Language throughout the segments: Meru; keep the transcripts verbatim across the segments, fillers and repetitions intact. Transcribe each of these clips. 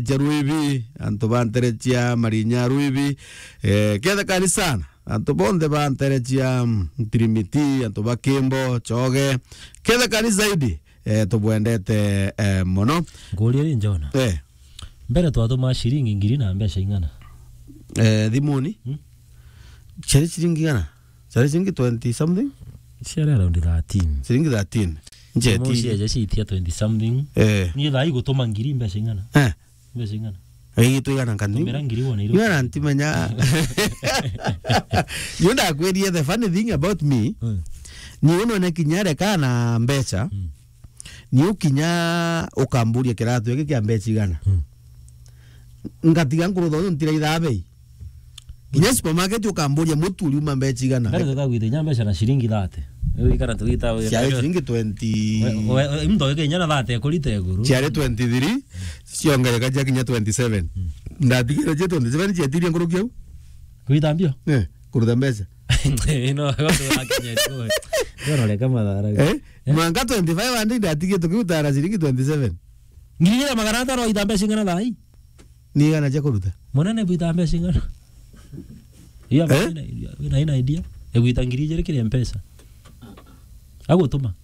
cia Ruibi, antu ba ntere cia Marinya Ruibi, eh, kethekani sana, antu bonthe ba ntere cia, mm, Ntirimiti, antu ba Kimbo, Choge, kethekani zaidi, eh, tubwendete, eh, mono. Nguria ri, Njona? Eh. Mbere twatuma ciringi ngiri na mbeca ing'ana? Eh, thimuni? Hmm? Ciari ciringi ing'ana? Ciari ciringi twenty something? Ciari around thirteen. Ciringi thirteen. Njeti. Mosi eje ciitia twenty something. Eh. Ni thaa igutuma ngiri mbeca ing'ana? Eh. Mbeca ing'ana? Ii, twigana nkani? Tumira ngiri wona iru. Niwe na ntimenya. Niwe ndakwirie, the funny thing about me, hmm, ni unone kinya reka na mbeca, hmm, ni ukinya ukamburia kiratu giki kia mbeca igana. Hmm. Ngatiga nkurutha untu ntiraithaa bei. Kinya supermarket ukamburia mutu uriuma mbeca igana. Mbere tukagwita inya mbeca na ciringi thirty. Riu ikara tugita we. Ciari ciringi twenty. We, we, we, muntu agike inya na thirty ekurita iguru. Ciari twenty-three, ciongereka cia kinya twenty-seven. Mm. Ndatigire cia twenty-seven cietirie nkuruki au? Kuita mbio? Eh, kuruta mbeca. No, gontu wa Kenya tu. Ndio reka mathara. Eh? Eh? Mwanka twenty-five hundred ndatigie tukiruta na ciringi twenty-seven. Ngiri igiri na magana atano waita mbeca ing'ana thaa ii? Ni igana cia kuruta? Munene bwita mbeca ing'ana? Iya, eh? Wina, wina, wina idea? Egwita ngiri igiri kiri Mpesa. Agutuma.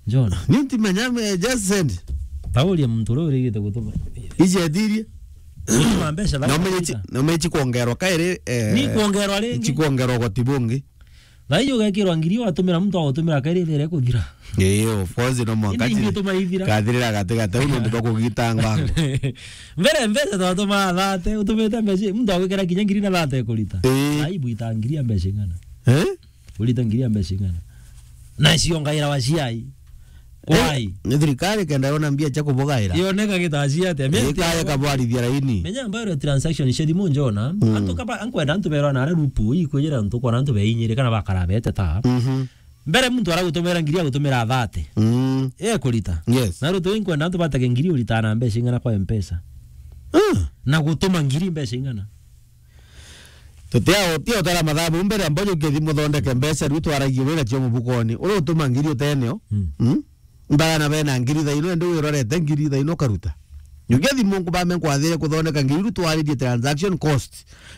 John. Ni ntimenya, me just send. Tauria muntu uria urigite gutuma. Icietirie? Gutuma mbeca. Na umenye chi-, na umenye chi kuongerwa kairi, eh, ni kuongerwa ringi. Chi kuongerwa ugoti bungi. Thaa ii ugekirwa ngiri, watumira muntu agutumira kairi, ithire kuthira. Ii, of course, no mwanka. Indi ingituma ithira. Kathirira gati gati, au nontu bwa kugita ngwango. Mbere mbeca twatumaa thate, utumite mbeca, muntu agwikira kinya ngiri na thate kurita. Ii. Thaa ii bwita ngiri ya mbeca ing'ana? Eh? Urita ngiri ya mbeca ing'ana? Na ciongaira wa ciai. Why? Ni thirikari kenda yona mbia cia kubugaira. Yoneka gitacia atia? Menya thirikari kabwarithia raini. Menya ambayo transaction cia thimu njona. Mm. Antu kaba, ankwenda antu berwa na rupu, ikwijira antu kona antu beinyire kana bakara bete ta. Mhm. Mbere muntu aragutumira ngiri agutumira thate. Mm. E kurita. Yes. Na rutu inkwenda antu batege ngiri urita na mbeca ing'ana kwa Mpesa. Ah. Na gutuma ngiri mbeca ing'ana? Tutia, utia utara mathabu mbere, mbojo ukithi muthondeke mbeca, riu twaragia wira cio mubukoni. Uri utuma ngiri uteneo. Mm. Mm? Mbagana bena ngiri thaino, ende wirorete ngiri thaino ukaruta. Nyukia thimu nkubame nkwathire kuthondeka ngiri, riu twaririe transaction cost.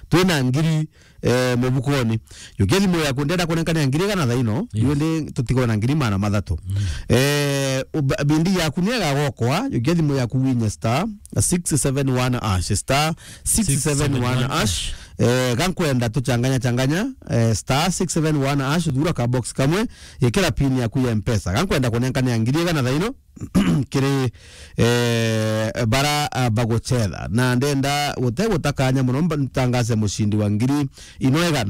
Twina ngiri, eh, mubukoni. Nyukia thimu yaku, ndenda kunenkania ngiri igana thaino, yes, riu ndi tutigwe na ngiri magana mathatu. Mm. Eh, uba-, bindi yaku ni egagokwa, nyukia thimu yaku winye star six seven one hash, star six seven one hash. Eh, gankwenda tuchanganya changanya, eh, star six seven one hash, thura ka box kamwe, ikira pin yaku ya Mpesa. Gankwenda kunenkania ngiri igana thaino, kiri, eh, bara, ah, baguchetha. Na ndenda gute gutakanya muno, mba-, ntangaze mushindi wa ngiri ino igana.